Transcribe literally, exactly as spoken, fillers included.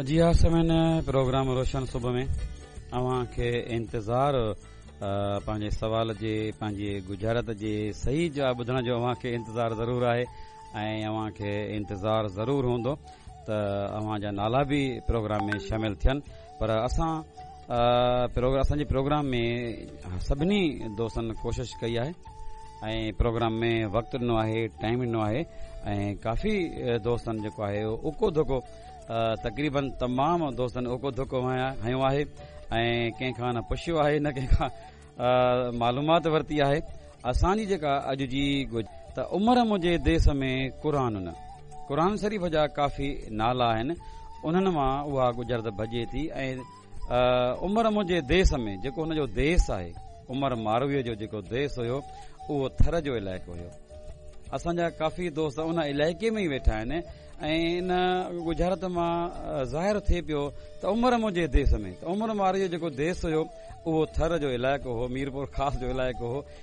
جي ها سامعين، پروگرام روشن صبح ۾ اوهان کي انتظار پنهنجي سوال جي، پنهنجي ڳجهارت جي صحيح جواب ٻڌڻ جو اوهان کي انتظار ضرور آهي ۽ اوهان کي انتظار ضرور هوندو ته اوهان جا نالا به پروگرام ۾ شامل ٿين. پر اسان اسان جي پروگرام ۾ سڀني دوستن ڪوشش ڪئي آهي ۽ پروگرام ۾ وقت ڏنو آهي، ٽائيم ڏنو آهي ۽ ڪافي دوستن جيڪو آهي اڪو ڌڪو، تقريبن تمام دوستن اڪو ڌڪو هنيو آهي ۽ ڪنهن کان نه پڇيو آهي، نه ڪنهن کان معلومات ورتي آهي. اسان جي جيڪا اڄ جي ته عمر منهنجي ديس ۾ قرآن نه، قرآن شريف جا ڪافي نالا آهن، انهن مان اها ڳجهارت ڀڄي ٿي. ۽ عمر منهنجي ديس ۾ جيڪو هن جو ديس آهي، عمر مارويء جو جيڪو ديس هيو، اهو ٿر جو علائقو هيو. اسان جا ڪافي دوست ان علائقي ۾ ئي ويٺا آهن ۽ ان ڳجهارت مان ظاهر ٿئي پيو ته عمر منهنجي ديس ۾ ته عمر مارويء جو جيڪو ديس هيو، اهو ٿر جو علائقو هو، ميرپور خاص جو علائقو هو.